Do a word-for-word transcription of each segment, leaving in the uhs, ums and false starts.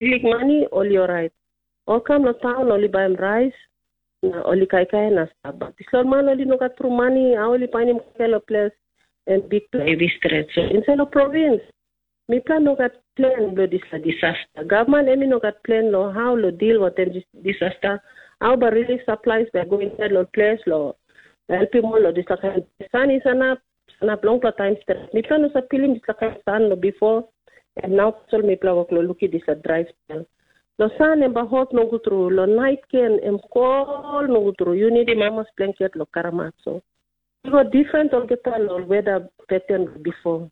liklik mani, ol i orait. Ol kam long taun, ol i baim rais, na ol i kaikai na stap. Bat dispela ol man ol i no gat tru mani, a ol i painim kaikai long ples, em bikpela hevi stret. So insait long provins, mipela no gat plen bilong dispela disasta. Gavman em i no gat plen long hau long dil wantaim dis- disasta. Hau bai relief supplies bai go insait long ples long helpim ol long dispela kain san i sanap, sanap longpela taim stret. Mipela no save pilim dispela kain san long bipo, em nau tasol mipela wok long lukim dispela drai spel. Long san em bai hot nogut tru, long nait gen em kol nogut tru. Yu nidim hamas blanket long karamat so. I go difren olgeta long weda peten bipo.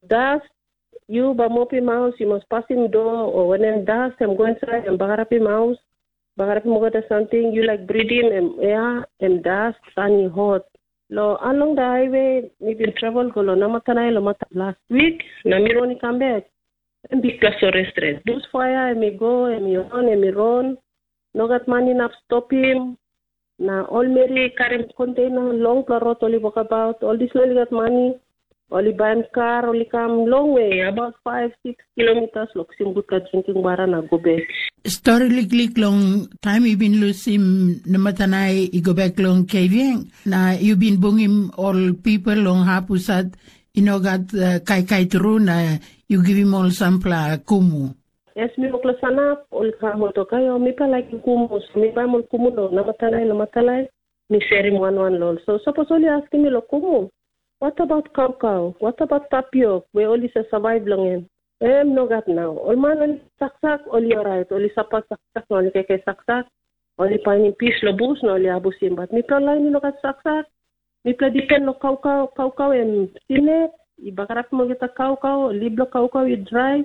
Das, yu bai mopim haus, yu mas pasim dua, o wanem das em go insait em bagarapim haus, bagarapim olgeta samting, yu laik bridim em ea, em das, san i hot. Long along da haiwe, mi bin travel go long Namatanai long mata last wik, na mi ron i kam bek. Em bikpela sore stret. Bus faia em i go, em i ron, em i ron. No gat man inap stopim. Na ol meri i karim konteina longpela rot ol i wokabaut. Ol dispela ol i gat mani, ol i baim kar, ol i kam longwe, abaut faiv, siks kilomitas long kisim gutpela drinking wara na go bek. Stori liklik long taim i bin lusim Namatanai i go bek long Kevieng, na yu bin bungim ol pipel long hap husat i no gat uh, kaikai tru na yu givim ol sampela kumu. Es mi wok long sanap, ol i kam ol tok, "Aio, mipela laikim kumu, so mi baim ol kumu long Namatanai, Namatanai, mi serim wan wan long ol." So sapos ol i askim mi long kumu, "What about kaukau? What about tapiok we ol i sa survive long en?" Em nogat nau. Ol man ol i saksak, ol i orait, ol i sapat saksak na ol i kaikai saksak, ol i painim pis long bus na ol i abusim. Bat mipela lain i no gat saksak. Mipela dipen long kaukau, kaukau em sinek, i bagarapim olgeta kaukau, lip bilong kaukau i drai.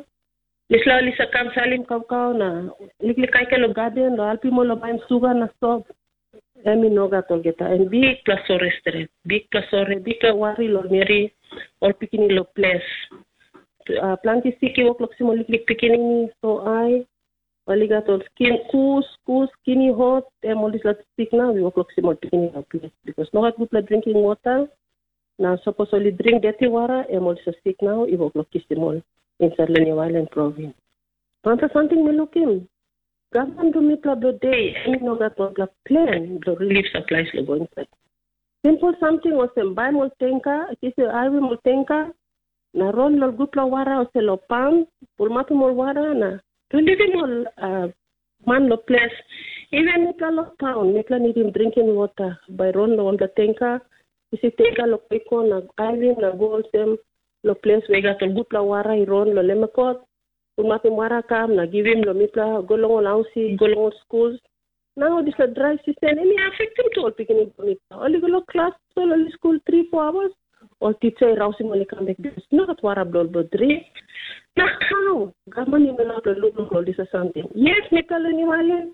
Dispela ol i sa kam salim kaukau na liklik kaikai long gaden, long helpim ol long baim suga na sop. Em i no gat olgeta, em bikpela sore stret, bikpela sore, bikpela wari long meri, ol pikinini long ples. Uh, planti sik i wok long kisim ol liklik pikinini, so ai, ol i gat ol skin kus, kus, skin i hot, em ol dispela sik nau i wok long kisim ol pikinini long ples, bikos no gat gutpela drinking wota, na sapos ol i dring deti wara, em ol dispela sik nau i wok long kisim ol insait long New Island provins. Wanpela samting mi lukim, gavman bilong mipela bilong de, em i no gat wanpela plen bilong relief supplies long go insait. Simpel samting olsem baim ol tenka, kisim haivim ol tenka, na ron long gutpela wara olsem long pam, pulmapim ol wara na bilivim ol uh, man long ples. Even mipela long taun, mipela nidim drinking wota, bai ron long wanpela tenka, kisim tenka long koiko na haivim na go olsem long ples we i gat ol gutpela wara i ron long lemekot, pulmapim wara kam na givim long mipela go long ol hausi, go long ol skul. Nau dispela drai sisen em i afektim tu ol pikinini bilong mipela. Ol i go long klas tasol ol i skul tri foa awas, ol titsa i rausim ol i kam bek bikos i no gat wara bilong ol bilong dring. Na hau gavman i no inap long lukluk long dispela samting? Yes, mipela long New Island,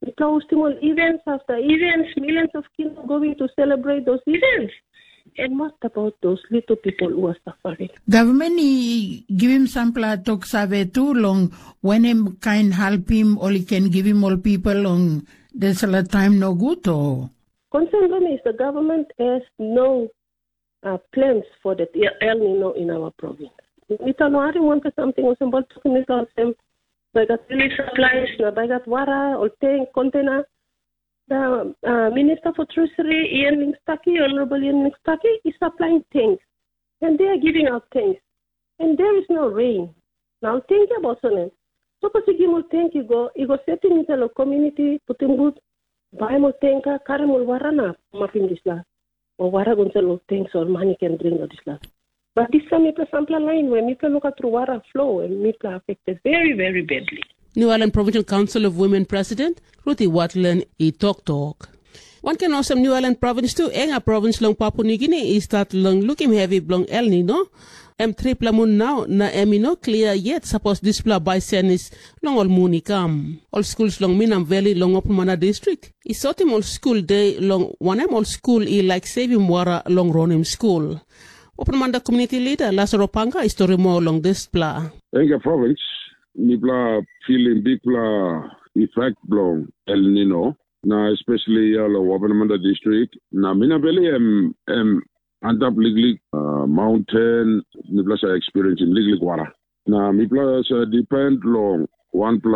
mipela hostim ol events after events, millions of kids going to celebrate those events. And what about those little people who are suffering? Gavman i givim sampela tok save tu long wanem kain helpim ol i ken givim ol pipel long dispela taim nogut, o? Concern bilong mi is the government has no uh, plans for the El Nino in our province. Mita no harim wanpela samting olsem, bol tokim mita olsem, bai gat relief supplies, na bai gat wara, ol tank, container. The uh, Minister for Treasury, Ian Lingstaki, Honorable Ian Lingstaki, is supplying tanks. And they are giving out tanks. And there is no rain. Now think about it. Sapos i gim ol tank i go, i go setim insait long community, putim gut, baim ol tanka, karim ol wara na mapim dispela. O wara go insait long tank so ol man i ken dring long dispela. But dispela mipela sampela lain where mipela no gat tru wara flow and mipela affected very, very badly. New Ireland Provincial Council of Women President Ruthie Watland i toktok. Wanken olsem New Ireland Provins tu, enga provins long Papua Nugini i stat long lukim hevi bilong El Nino. Em tripela mun nau na em i no klia yet sapos dispela bai senis long ol mun i kam. Ol skul long Minam Valley long Open Manda Distrik i sotim ol skul de long wanem ol skul i laik sevim wara long ronim skul. Open Manda Komuniti Lida Lasaro Panga i stori moa long dispela. Enga provins, mipela filim bikpela efek bilong El Nino. Na especially ya long Wabanamanda distrik, na Minaveli em em antap liklik uh, mountain, mipela sa experiencing liklik wara. Na mipela sa depend long wanpela